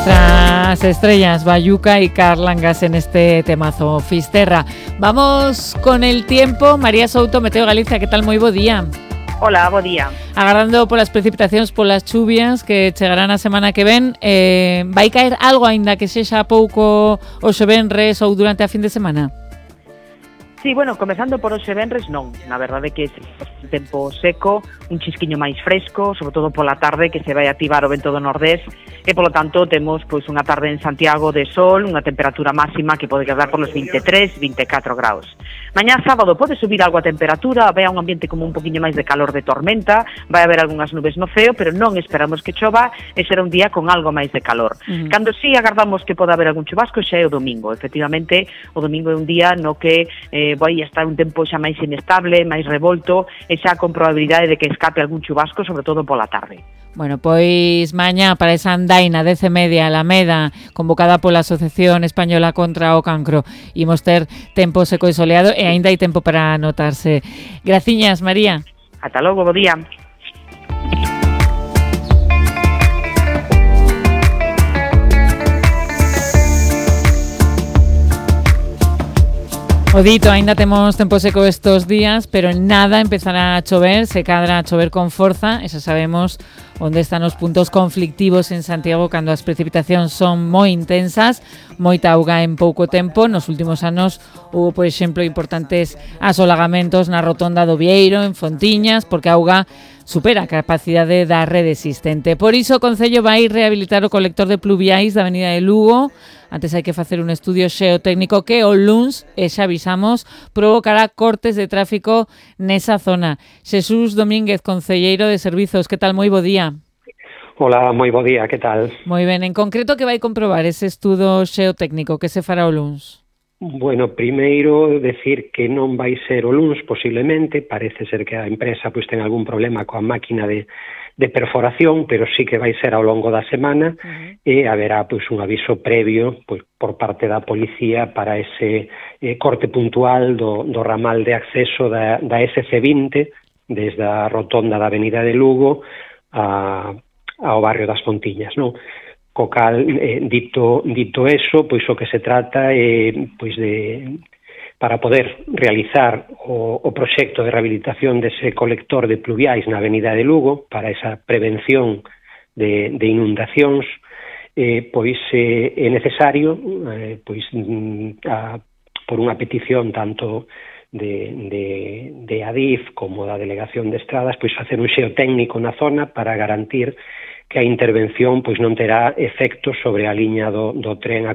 Nuestras estrellas, Bayuca y Carlangas en este temazo Fisterra. Vamos con el tiempo. María Souto, Meteo Galicia, que tal? Moi bo día. Hola, bo día. Agardando polas precipitacións, polas chuvias que chegarán a semana que ven, vai caer algo aínda que sexa pouco hoxe venres ou durante a fin de semana? Sí, bueno, comezando por hoxe venres, non. Na verdade que un tempo seco, un chisquiño máis fresco, sobre todo pola tarde, que se vai activar o vento do nordés, e polo tanto temos pois unha tarde en Santiago de sol, unha temperatura máxima que pode quedar por los 23, 24 graus. Mañá sábado pode subir algo a temperatura, vai a un ambiente como un poquinho máis de calor de tormenta, vai haber algunhas nubes no ceo, pero non esperamos que chova e será un día con algo máis de calor. Cando sí agardamos que poda haber algún chubasco xa é o domingo. Efectivamente, o domingo é un día no que vai estar un tempo xa máis inestable, máis revolto, e xa con probabilidade de que escape algún chubasco, sobre todo pola tarde. Bueno, pois mañá para esa andaina 10:30 Alameda, convocada pola Asociación Española contra o Cancro, imos ter tempo seco e soleado e aínda hai tempo para anotarse. Graciñas, María. Ata logo, bo día. O dito, aínda temos tempo seco estos días, pero en nada empezará a chover, se cadra a chover con forza, e xa sabemos onde están os puntos conflictivos en Santiago cando as precipitacións son moi intensas, moita auga en pouco tempo. Nos últimos anos houve, por exemplo, importantes asolagamentos na rotonda do Vieiro, en Fontiñas, porque a auga supera a capacidade da rede existente. Por iso o Concello vai rehabilitar o colector de pluviais da Avenida de Lugo. Antes hai que facer un estudio xeotécnico que o luns, e xa avisamos, provocará cortes de tráfico nesa zona. Xesús Domínguez, concelleiro de Servizos, que tal? Moi bo día. Hola, moi bo día, que tal? Moi ben, en concreto, que vai comprobar ese estudo xeotécnico que se fará o luns? Bueno, primeiro decir que non vai ser o luns, posiblemente, parece ser que a empresa pois ten algún problema coa máquina de perforación, pero sí que vai ser ao longo da semana e haberá pois un aviso previo pois por parte da policía para ese corte puntual do ramal de acceso da SC20 desde a rotonda da Avenida de Lugo ao barrio das Fontiñas, non? Co cal, dito eso, pois o que se trata é pois para poder realizar o proxecto de rehabilitación dese colector de pluviais na Avenida de Lugo para esa prevención de inundacións, pois é necesario pois por unha petición tanto de Adif como da Delegación de Estradas, pois facer un xeotécnico na zona para garantir que a intervención pois non terá efectos sobre a liña do tren a